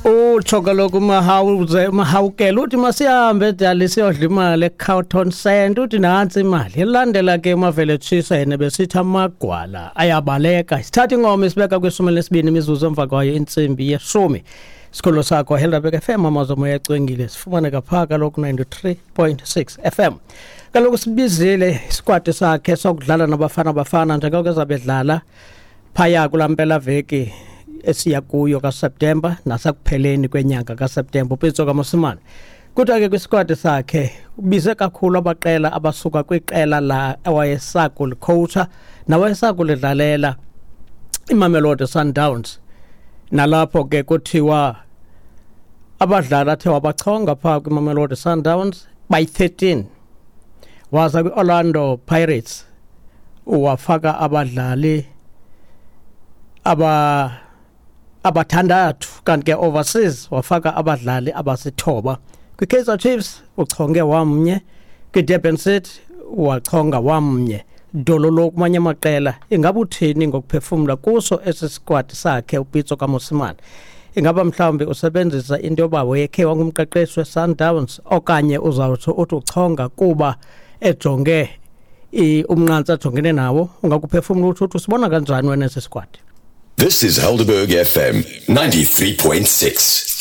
Utsho kaloku umahawuze umahawukela uthi masihambe dali siyodla imali eCarlton Center, uthi nantsi imali. Ilandela ke uMavele Tshisa yena besithi amagwala ayabaleka. Sithatha ingoma isibeka kwishumi lesibini imizuzu emva kwayo intsimbi yeshumi. Sikhululo sakho Helderberg FM, amazwi omoya ecwengile, sifumaneka phaa kaloku 93.6 FM. Kaloku sibizile isikwadi sakhe sokudlala nabafana bafana njengoko ezabedlala phaya kulaa mpelaveki esiya kuyo kaSeptemba nasekupheleni kwenyanga kaSeptemba uPitso kaMosimane. Kuthiwa ke kwisikwadi sakhe ubize kakhulu abaqela abasuka kwiqela la awayesakulikhowutsha nawayesakulidlalela iMamelodi Sundowns, nalapho ke kuthiwa abadlali athe wabachonga phaa kwiMamelodi Sundowns bayi-13, waza kwi-Orlando Pirates wafaka abadlali abathandathu, kanti ke overseas wafaka abadlali abasithoba. Kwi-Kaizer Chiefs uchonge wamnye, kwi-Durban City wachonga wamnye. Dololo kumanye amaqela, ingaba uthini ngokuphefumla kuso esi sikwadi sakhe uPitso kaMosimane? Ingaba mhlawumbi usebenzisa into yoba wayekhe wangumqeqeshi we-Sundowns, okanye uzawutsho uthi uchonga kuba ejonge umnqantsa ajongene nawo? Ungakuphefumla utsho uthi usibona kanjani wena esi sikwadi? This is Helderberg FM 93.6.